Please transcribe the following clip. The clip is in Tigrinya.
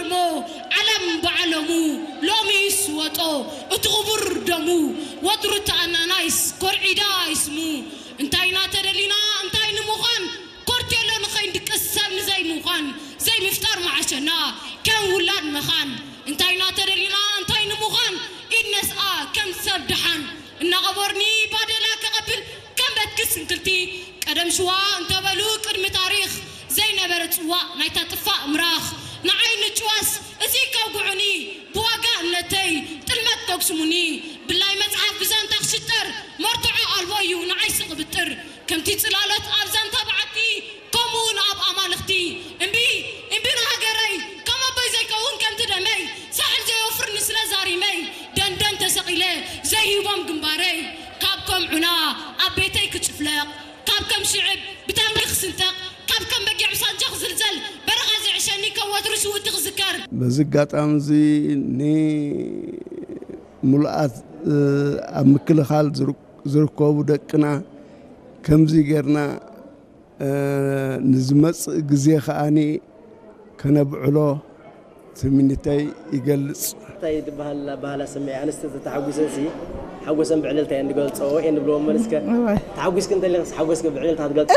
እሞ ዓለም ብዓለሙ ሎሚስ ወጦ እቲ ክቡር ደሙ ወትሩ ተኣናናይስ ኮርዒዳ ይስሙ እንታይ ኢና ተደሊና እንታይ ንምዃን ኮርቴሎ ንኸይንድቅስ ሰብ ንዘይምዃን ዘይምፍጣር መዓሸና ከም ውላድ መኻን እንታይ ኢና ተደሊና እንታይ ንምዃን ኢድ ነስኣ ከም ሰብ ደሓን እናቐበርኒ ባዴላ ክቐብል ከም በትኪ ስንክልቲ ቀደም ሽዋ እንተበሉ ቅድሚ ታሪኽ ዘይነበረ ጽዋእ ናይታ ጥፋእ ምራኽ ንዓይ ንጭዋስ እዚ ከውግዑኒ ብዋጋ እምነተይ ጥልመት ከጉስሙኒ ብላይ መጽሓፍ ብዛንታ ክሽጠር መርትዖ ኣልቦ እዩ ንዓይ ስቕብጥር ከምቲ ጽላሎት ኣብ ዛንታ በዓቲ ከምኡ እውን ኣብ ኣማልኽቲ እምቢ እምቢ ንሃገረይ ከም ኣቦይ ዘይከውን ከምቲ ደመይ ሳሕል ዘይወፍር ንስለ ዛሪመይ ደንደን ተሰቒለ ዘይህቦም ግንባረይ ካብ ከም ዑና ኣብ ቤተይ ክጭፍለቕ ካብ ከም ሽዕብ ብታንኪ ክስንጠቕ ካብ ከም በጊዕ ብሳንጃ ክዝልዘል በረኻ ዝዕሸኒ ከም ወትሩ ሽውቲ ክዝከር በዚ ኣጋጣሚ እዚ ንሙሉኣት ኣብ ምክልኻል ዝርከቡ ደቅና ከምዚ ጌርና ንዝመጽእ ግዜ ከኣ ከነብዕሎ ትምኒተይ ይገልጽ። እንታይ ትበሃል ኣበሃህላ ስምዒ ኣንስቲ ተተሓጒሰን ሲ ሓጎሰን ብዕልልታ እየን ዝገልጸኦ እየን ዝብልዎ እመን እስከ ተሓጒስኪ እንተሊኽስ ሓጎስኪ ብዕልልታ ክትገልጽ